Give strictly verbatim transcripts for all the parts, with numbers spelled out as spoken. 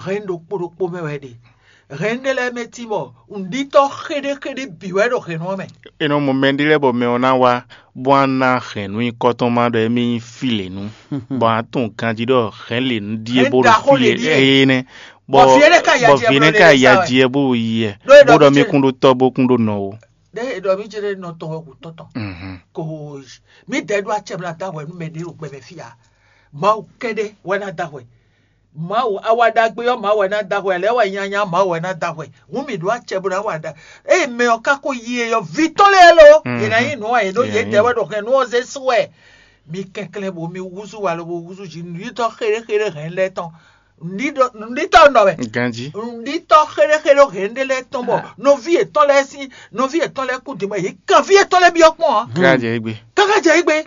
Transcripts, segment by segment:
Hɛn ɖokpó ɖokpó mɛ wɛ ɖe. Hɛn ɖé lɛ́ɛ mɛ tín bɔ nǔɖítɔ́ xéɖéxéɖé bǐ wɛ ɖo hɛ̌nnu ɔ́ mɛ. È nɔ mɔ mɛ ɖé lɛ́ɛ bɔ mɛ ɔ́ ná wá, bó wá ná hɛ̌nnu nyíkɔ tɔn má ɖɔ émí nyí fí lě nu, bɔ a tunwun ganjí ɖɔ hɛ̌n lě nu ɖíe bó ɖo fí lě éé nɛ́, bɔ vǐ énɛ́ ka yi aji wɛ bó ɖo yi wɛ, bó ɖɔ mí kún ɖó tɔ́ bó kún ɖó nɔ ó. Ɖé è ɖɔ mí jlé nɔ tɔn wɛ hǔn tɔn tɔn. Ko mí dɛ ɖó acɛ mla da hwɛ nú mɛ ɖé ɖo gbɛ mɛ fí ǎ. Mawu kɛ́ɖɛ́ wɛ ná da hwɛ. Mawu awa ɖagbe ɔ́ Mawu wɛ ná da hwɛ, lɛ̌ wɛ nyanya Mawu wɛ ná da hwɛ. Hǔn mǐ ɖó acɛ bó ná wa ɖa. Eye mɛ ɔ́ ka ko yi e ɔ́, vǐ tɔn lɛ́ɛ lo, yě ná nyí nǔ a yě ɖó yědɛɛ wɛ ɖo hɛn nú ɔ́ zé sú wɛ. Mi kɛnklɛ́n bo mi húzú wa lobo húzú jǐ nǔɖítɔ́ xéɖéxéɖé hɛn lɛ́ɛ tɔn. Nǔɖítɔ́ nɔ wɛ. Ganjí. Nǔɖítɔ́ xéɖéxéɖé hɛn ɖé lɛ́ɛ tɔn bɔ nɔví yětɔn lɛ́ɛ sín nɔví yětɔn lɛ́ɛ kú din bɔ yě kan fí yětɔn lɛ́ɛ byɔ́ kpɔ́n ǎ. Káká jɛ égbé. Káká jɛ égbé.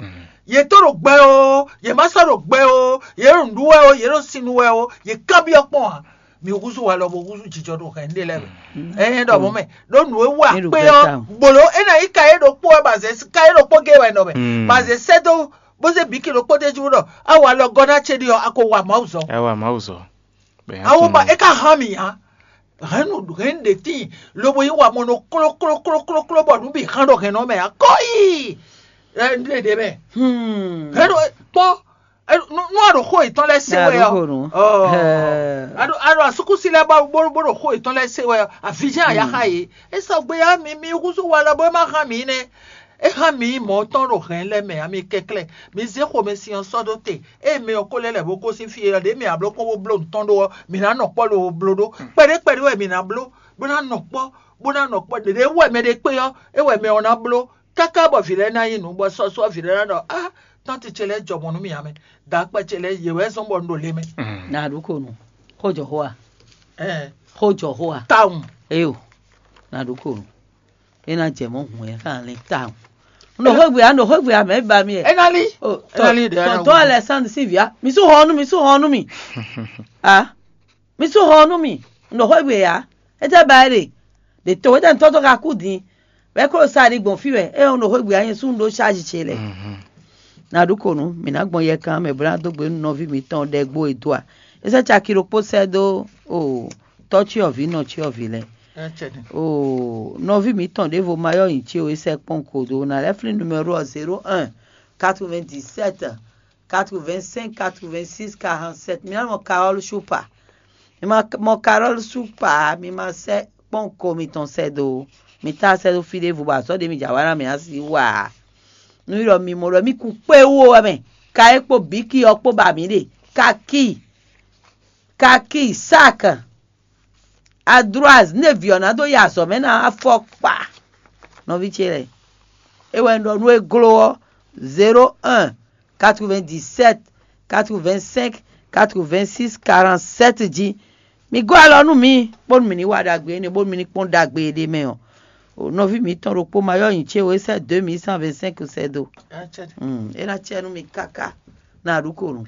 Yě tó ɖo gbɛ o, yě má sɔ́ ɖo gbɛ o, yě ɖo nǔɖú wɛ o, yě ɖo sin nu wɛ o, yě kan byɔ́ kpɔ́n ǎ. Mi húzú walɔ bo húzú jijɔ ɖo hɛn ɖé lɛ́ɛ mɛ. Ɛhɛn ɖɔ mɔ̌ mɛ ɖó nǔ e wa kpé ɔ́ gbolo é ná nyí ka é ɖokpó wɛ ba zɛ ka é ɖokpó gé wɛ nɔ mɛ ba zɛ sɛ́ dó bó zé bǐ ki ɖokpó d'é jí wú ɖɔ a wa alɔ gɔ́ ná ce ɖi ɔ́ a ko wa Mawu zɔ. Ɛ wa Mawu zɔ. Awo ba é ka hán mì ǎ. Hɛ̌nnu hɛ̌nnu ɖě tíin lobo yí wa mɔ nɔ klóklóklókló bɔ nǔ bǐ hán ɖo hɛ̌nnu ɔ́ mɛ ǎ. Kɔ́yi! Ɛ un ɖe ɖě mɛ. Hɛ̌nnu kpɔ́ nú a ɖo xó yětɔn lɛ́ɛ se wɛ ɔ́, a ɖo asúkúsi lɛ́ɛ bó bó ɖo xó yětɔn lɛ́ɛ se wɛ ɔ́, avǐjɛ́n a yá xá yě. É sɔgbe ɔ́, mi mi húzú walɔ bó é má hán mǐ nɛ́. É hán mǐ nyí mɔ̌ tɔn ɖo hɛ̌n lɛ́ɛ mɛ ǎ, mi kɛnklɛ́n. Mi zé xomɛsin ɔ́ sɔ́ dó te. Ée mɛ ɔ́ ko lɛ́ lɛ̌ bó gosín fí e ɔ́, ɖěe mǐ ná bló kpɔ́n bó bló nǔ tɔn ɖó ɔ́, mǐ ná nɔ kpɔ́ lobo bló ɖó. Kpɛɖé kpɛɖé wɛ mǐ ná bló, bó ná nɔ kpɔ́. Ɖěɖě wú wɛ mɛ ɖé kpé ɔ́, é wɛ mɛ ɔ́ ná bló, káká bɔ vǐ lɛ́ɛ ná nyí nǔ, bɔ sɔ́sɔ́ vǐ lɛ́ɛ ná ɖɔ: Á, tánti ce lɛ́ɛ jɔ mɔ̌ nú mì ǎ mɛ, dǎkpɛ ce lɛ́ɛ yě wɛ zɔ́n bɔ un ɖo le mɛ. Na ɖu ko nu. Xó jɔ xó a? Xó jɔ xó a? Tawun. Eyo. Na ɖu ko nu. É ná jɛ mɔ̌ hǔn ɛ xá lɛ́ tawun. Un ɖo xwé gbe ǎ, un ɖo xwé gbe ǎ, mɛ̌ ba mì ɛ? É ná lí. É ná lí ɖě ɔ́ ná Tɔntɔn wú. Alexandre sín vǐ á, mi sú xɔ ɔ́ nú mì, sú xɔ ɔ́ nú mì. A mi sú xɔ ɔ́ nú mì, un ɖo xwé gbe ǎ. É tɛ́ ba é ɖe? Ɖě to é tɛ́ tɔ́ tɔ́ ka kú din. Bɔ é ko ɖo sa ɖi gbɔn fí wɛ, é un ɖo xwé gbe ǎ, nyɛ sú un ɖó sázi ce lɛ́ɛ. Na ɖu ko nú mǐ ná gbɔn yɛkan mɛ bó ná dó gbe nú nɔví mǐtɔn ɖɛ gbo e dó a? É sɛ́ caki ɖokpó sɛ́ dó o tɔ́cyɔvǐ nɔcyɔvǐ lɛ́ɛ. Oo, nɔví mǐtɔn ɖěvo ma yɔ́ nyi ce o, é sɛ́ kpɔ́n kodo ná lɛ́ flín numéro ɔ́ zéro un quatre-vingt-dix-sept quatre-vingt-cinq quatre-vingt-six quarante-sept. Mi ná mɔ Carole Choupa. Mi ma mɔ Carole Choupa, mi ma sɛ́ kpɔ́n ko mitɔn sɛ́ dó. Mi tá sɛ́ dó fí ɖěvo bɔ azɔ̌ ɖě mi jǎ wa ná mǐ ná sí wa. Nú mi ɖɔ mi mɔ ɖɔ mi kún kpé wú wɛ mɛ, ka é kpó bǐki ɔ́ kpó ba mǐ ɖe. Kaki, kaki, sak, adroise, nú e vǐ ɔ́ ná dó yi azɔ̌ mɛ ná afɔkpa. Nɔví ce lɛ́ɛ, é wɛ un ɖɔ nú é gló ɔ́, zéro un quatre-vingt-dix-sept quatre-vingt-cinq quatre-vingt-six quarante-sept jí. Mi gɔ́ alɔ nú mǐ, bónú mǐ ní wa ɖagbe énɛ́, bónú mǐ ní kpɔ́n ɖagbe e ɖ'é mɛ ɔ́. Nɔví mǐtɔn ɖokpó ma yɔ́ nyi cé o, é sɛ́ deux mille cent vingt-cinq sɛ́ dó. É ná cɛ nú mi káká. Na ɖu ko nu.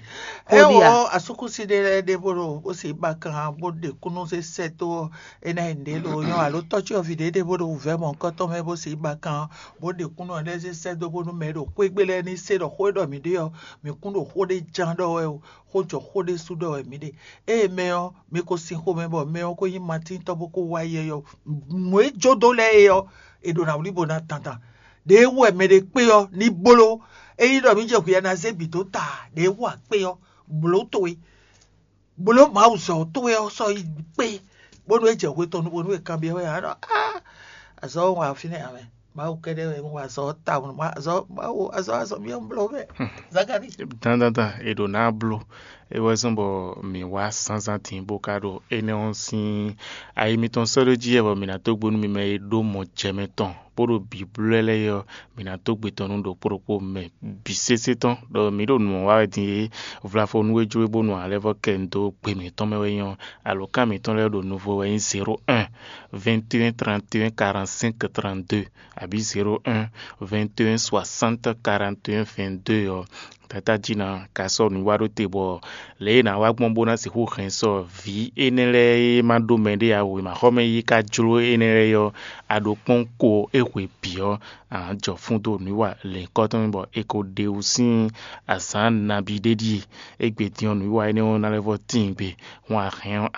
Ɛ Xo ɖi a? Wɔ asúkúsi ɖé lɛ́ɛ ɖé bó ɖo bó si ba kan bó ɖe kúnnu zé sɛ́ dó ɔ́, é ná yi nǔɖé ɖo nyɔ́ alo tɔ́cyɔvǐ ɖé ɖé bó ɖo wǔvɛ́ mɔ̌hunkɔtɔn mɛ bó si ba kan bó ɖe kúnnu ɔ́ lɛ́ɛ zé sɛ́ dó bónú mɛ e ɖo xwé gbe lɛ́ɛ ní se ɖɔ xó e ɖɔ mǐ ɖe ɔ́, mǐ kún ɖo xó ɖé ján ɖɔ wɛ o, xó jɔ xó ɖé sú ɖɔ wɛ mǐ ɖe. Ée mɛ ɔ́, mi ko sin xomɛ bɔ mɛ ɔ́ ko nyí Matín tɔn bó ko wá yɛ ɔ́, nǔ e jó dó lɛ́ɛ é ɔ́, è ɖǒ ná wlí bó ná dandan. Ɖěe wú wɛ mɛɖé kpé ɔ́ ní bló. Ényí ɖɔ mǐ jɛ hwi ná zé bǐ dó ta ǎ, ɖěe wú akpé ɔ́, blǒ towe, blǒ Mawu zɔ towe ɔ́ sɔ́ yi kpé, bónú é jɛ hwe tɔn nu bónú è kanbyɔ́ wɛ ǎ ɖɔ á azɔ̌ ɔ́ wa fínɛ́ ǎ mɛ. Mawu kɛ́ɖɛ́ wɛ un wa azɔ̌ ɔ́ tawun, azɔ̌ Mawu azɔ̌ azɔ̌ byɔ́ un bló mɛ. Zakalíi. Dandandan è ɖǒ ná bló. É wɛ zɔ́n bɔ mǐ wá zǎnzǎn din bó ka ɖo énɛ́ ɔ́ sín ayi mitɔn sɔ́ ɖó jí wɛ bɔ mǐ ná dó gbe nú mi mɛ e ɖó mɔ jɛ mɛ tɔn bó ɖo bǐblɛ́ lɛ́ɛ é ɔ́, mǐ ná dó gbe tɔn nú ɖokpó ɖokpó mɛ bǐ sésé tɔn, ɖɔ mǐ ɖo nǔ ɔ́ wa wɛ din é. Vlafo nú é jó é bónú ǎ lɛ́ vɔ́ kɛ un dó gbe mǐtɔn mɛ wɛ nyí ɔ́, alǒkan mǐtɔn lɛ́ɛ ɖo nuvo wɛ nyí zéro un vingt et un trente et un quarante-cinq trente-deux, abǐ zéro un vingt et un soixante quarante et un vingt-deux ɔ́. Tata jí ná ka sɔ́ nǔ wa ɖó te bɔ lě e è nǎ wa gbɔn bó ná sixú hɛn sɔ vǐ énɛ́ lɛ́ɛ e ma ɖó mɛɖé ǎ wěmaxɔmɛ yí ka jló énɛ́ lɛ́ɛ ɔ́, a ɖo kpɔ́n ko é hwe bǐ ɔ́, a nǎ jɔ fún dó nǔwiwa lěhunkɔtɔn mɛ bɔ è ko ɖe wú sín azǎn nabí ɖé ɖíe. Égbé din ɔ́, nǔwiwa énɛ́ ɔ́ ná lɛ́ vɔ́ tíin gbe, hɔn a hɛn ɔ́,